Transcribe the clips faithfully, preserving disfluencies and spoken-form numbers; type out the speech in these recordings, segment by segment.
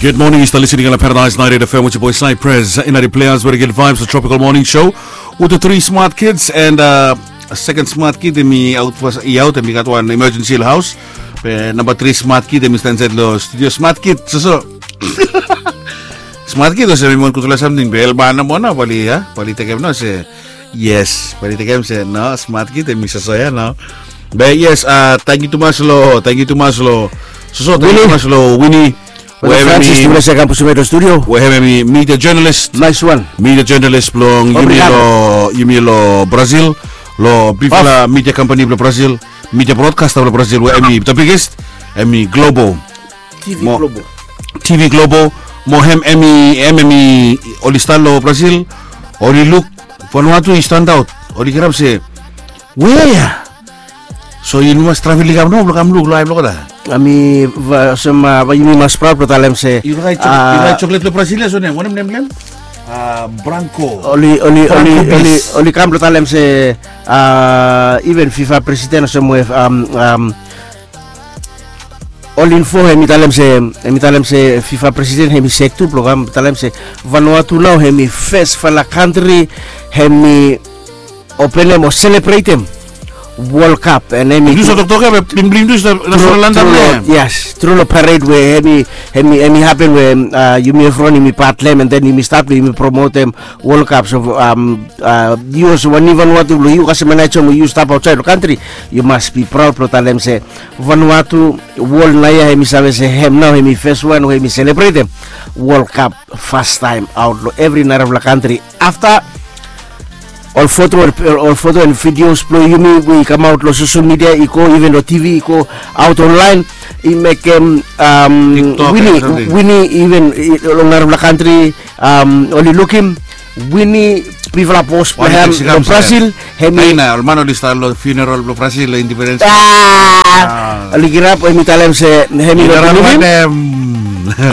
Good morning, you still listening on Paradise ninety-eight F M with your boy Cypress in the Players with a good vibes, the Tropical Morning Show with the three smart kids and uh, a second smart kid, hemi aot, hemi aot, hemi gat wan emergency lo haos. Be namba tri smart kid, hemi stap insaed lo studio. Smart kid, soso. Smart kid, olsem hemi wan gudfala samting, be elman nao mo nao, bae oli, a, bae oli tekem nao se, yes, bae oli tekem se, no, smart kid, hemi soso ya nao. Be yes, a, tangkiu tumas lo, tangkiu tumas lo, soso, tangkiu tumas lo Winnie. Well, Francis, hemi, tumas ya kam pusim lo studio. We hemi media journalist. Nice one. Media journalist blong yumi lo, yumi lo Brazil. Lo bigfala media company blo Brazil. Media broadcaster blo Brazil, we hemi the biggest, hemi Globo. T V Globo. T V Globo, mo hem hemi, hem hemi, oli stap lo Brazil, oli luk, Vanuatu i stand out, oli kirap se, wea? So yumi mas travel i kam nao, blo kam luk lo ae blo olgeta. Hemi, olsem, a, yumi mas praod blo talem se, yu raet choklet lo Brazil ya, so nem, wanem nem blo hem? A, Branco. Oli, oli, oli, oli kam blo talem se, a, even FIFA president olsem we, am, am, Olinfo, hemi talem se, hemi talem se FIFA president hemi sek tu blo kam talem se Vanuatu nao hemi fesfala kantri hemi openem o selebretem World Cup, and hemi, yu save toktok ya, be bling bling tu, save, save landa, yes, tru lo parade we hemi, hemi, hemi hapen we, a, yumi evriwan yumi pat lo hem, and then yumi stap lo yumi promotem World Cup. So, am, a, yu olsem wan Vanuatu blo yu kasem Anaheim we yu stap aotsaed lo kantri, yu mas be praod blo talem se Vanuatu, wol naoia hemi save se hem nao hemi fes wan we hemi selebretem World Cup fastaem aot lo evri narafala kantri. Afta ol foto, ol foto and videos blo yumi we i kamaot lo social media i go, even lo T V i go aot online, i mekem, am, Winnie, Winnie, even, i, lo narafala kantri, am, oli lukim Winnie, bigfala bos blo hem lo Brazil, hemi, ol man oli stap lo funeral blo Brazil lo independence. A, oli kirap, hemi talem se hemi no bilivim.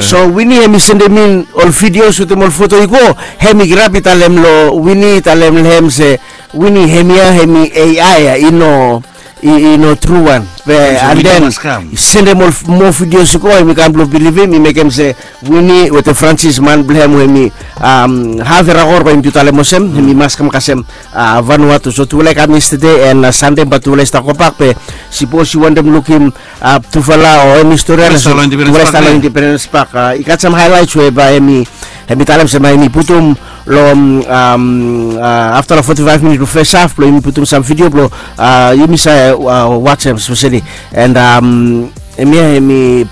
So Winnie hemi sendem in ol videos wetem ol foto i go, hemi kirap i talem lo Winnie, i talem lo hem se, Winnie, hemia hemi A I ya, i no, i, i no tru wan. Be, and then i sendem ol moa videos i go, hemi kam blo bilivim, i mekem se Winnie wetem Francis, man blo hem we hemi, am, haf era kor bae yumi tu talem olsem, hemi mas kam kasem, a, Vanuatu. So tufala i kam yestede, and, a, Sande bae tufala i stap gobak, be sipos yu wantem lukim, a, tufala o eni stori, tufala i stap lo Independence Park, a, i gat sam highlights we bae hemi, hemi talem se bae hemi putum lo, am, a, afta lo forty-five minit blo fes haf, blo yumi putum sam video blo, a, yumi save, a, wajem speseli. And, am, hemia hemi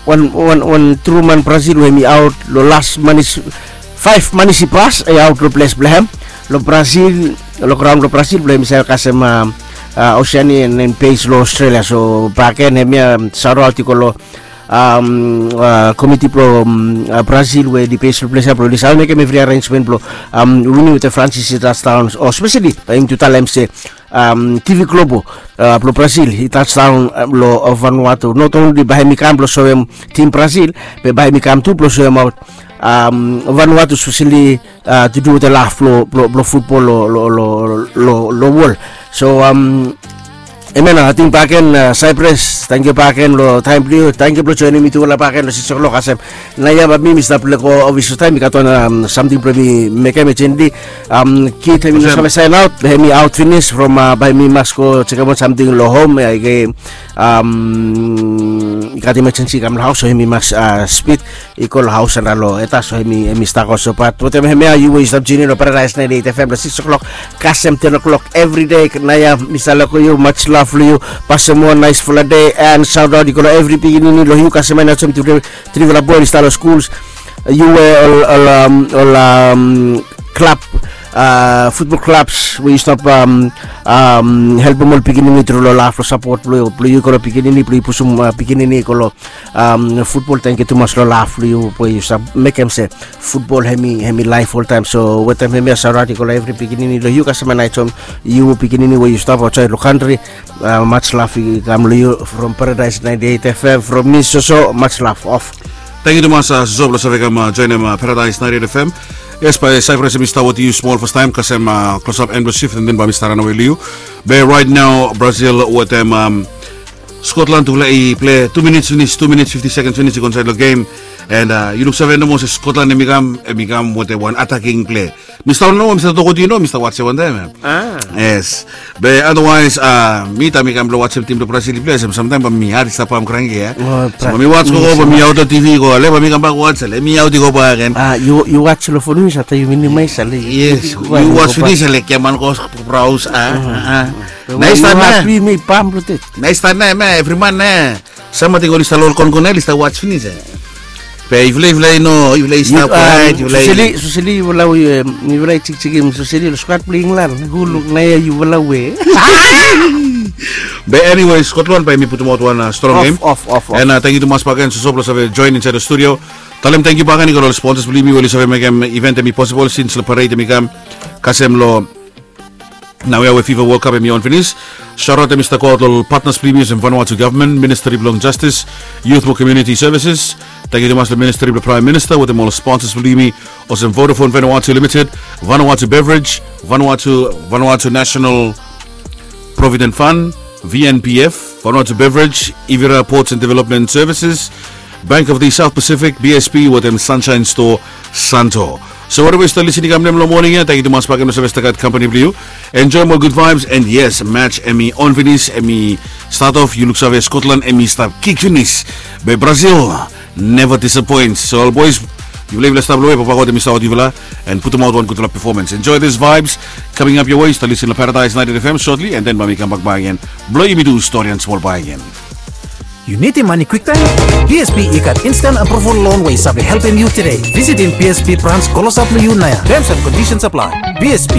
wan, wan, wan tru man Brazil we hemi aot lo las manis, faef manis i pas, i aot lo ples blo hem lo Brazil, lo graon blo Brazil, blo hemi save kasem, a, a, Oceania and then base lo Australia. So bakegen hemia, am, saotaot i go lo, am, a, komiti blo, am, a, Brazil we oli base lo ples ya, blo oli save mekem evri arrangement blo, am, Winnie wetem Francis i touchdown, o speseli bae yumi tu talem se, am, T V Globo, a, blo Brazil i touchdown, a, lo, a, Vanuatu. Not only bae hemi kam blo soem tim Brazil, be bae hemi kam tu blo soemaot, am, Vanuatu speseli, a, to do wetem laf blo, blo, blo futbol lo, lo, lo, lo, lo wol. So, am, hemia nao, ating bakegen, a, Cypress, tangkiu bakegen lo taem blo yu, tangkiu blo joenem mitufala bakegen lo sikis o'clock kasem naoia. Bae mi, mi stap lego ofis lo taem, mi gat wan, am, samting blo mi mekem urgently. Am, kid hemi no save saen aot, be hemi aot finis from, a, bae mi mas go jekemaot samting lo hom, a, i, am, i gat emergency i kam lo haos, so hemi mas, a, spid i go lo haos anda lo eta, so hemi, hemi stap go. So bat wetem hemia, yu we yu stap tune in lo Paradise ninety-eight F M lo sikis o'clock kasem ten o'clock evri dei. Naoia mi stap lego yu, much love lo yu. Pasem wan naesfala dei, and saotaot i go lo evri pikinini lo yu kasem Anaheim, trifala boe oli stap lo skuls. Yu we ol, ol, am, ol, am, klab, a, futbol klabs we yu stap, am, am, helpem ol pikinini tru lo laf, lo sapot blo, blo yu i go lo pikinini, blo yu pusum, a, pikinini i go lo, am, futbol. Tangkiu tumas lo laf blo yu we yu stap mekem se futbol hemi, hemi laef oltaem. So wetem hemia, saotaot i go lo evri pikinini lo yu kasem Anaheim, yu pikinini we yu stap aotsaed lo kantri. A, much love i kam lo yu from Paradise ninety-eight F M, from mi, Soso, much love, off. Tangkiu tumas, a, Soso, blo save kam, a, joenem, a, Paradise ninety-eight F M. Yes, bae Cypress hemi stap wetem yu smol fastaem kasem, a, close up and blo sif, and then bae mi stap ranawe lo yu. Be right now Brazil wetem, am, Skotlan tufala i pilei tu minits finis, tu minits fifti sekens finis i go insaed long gem. And yu luksave nomo olsem Skotlan hem i kam, hem i kam wetem wan ataking pilei. Mi stap nomo, mi stap tok wetem yu, no, mi stap watsem wantaem. Yes. Be otherwise mi taem mi kam blong watsem tim blong Brazil i pilei olsem, samtaem bae mi hari stap pam kranki ya. So bae mi wats gogo bae mi aot long T V go, ale bae mi kambak wats, ale mi aot i go bakegen. Yu wats long fon finis, afta yu minimaes, ale. Yes, yu wats finis, ale kiaman go braos. Nais tan ya. Nais tan ya, evri man ya. Sam ating oli stap long ol konkon ya oli stap wats finis ya. Be yufala, yufala i no, yufala i stap kwaet, yufala i... Soseli, soseli yufala we, yufala i jikjikim soseli long skwat blong Inglan. Hu luk naoia yufala we? Be anyway, Skotlan bae mi putumaot wan strong gem. And tangkiu tumas bakegen Soso blong save joen insaed long studio. Talem tangkiu bakegen i go long ol sponsas blong yumi we oli save mekem event hem i posibol sins long pared hem i kam kasem long naoia we Fifa World Cup hem i on finis. Shaot aot hem i stap goaot long ol patnas blong yumi olsem Vanuatu Gavman, Ministri blong Jastis, Yut mo Komuniti Sevises. Tangkiu tumas long Ministri blong Praem Minista wetem ol sponsas blong yumi olsem Vodafone Vanuatu Limited, Vanuatu Beverage, Vanuatu, Vanuatu National Provident Fund, V N P F, Vanuatu Beverage, Ivira Ports and Development Services, Bank of the South Pacific, B S P wetem Sunshine Store, Santo. So whatever yu stap lisin i kam long moning ya, tangkiu tumas bakegen blong save stap gat kampani blong yu. Enjoem ol gud vaebs, and yes, match hem i on finis, hem i stat of, yu luksave Skotlan hem i stap kik finis. Be Brazil never disappoints. So ol boes, yufala, yufala stap long we, Papa God hem i stap wetem yufala and putumaot wan gudfala performance. Enjoy this vibes coming up your way. Stap lisin long Paradise ninety F M shortly, and then bae mi kambak bakegen blong yumi du stori and smol bakegen. Yu nidim mane kwiktaem? B S P i gat instant approval loan we i save helpem yu tede. Visitim B S P brans klosap long yu naoia. Terms and conditions apply. B S P,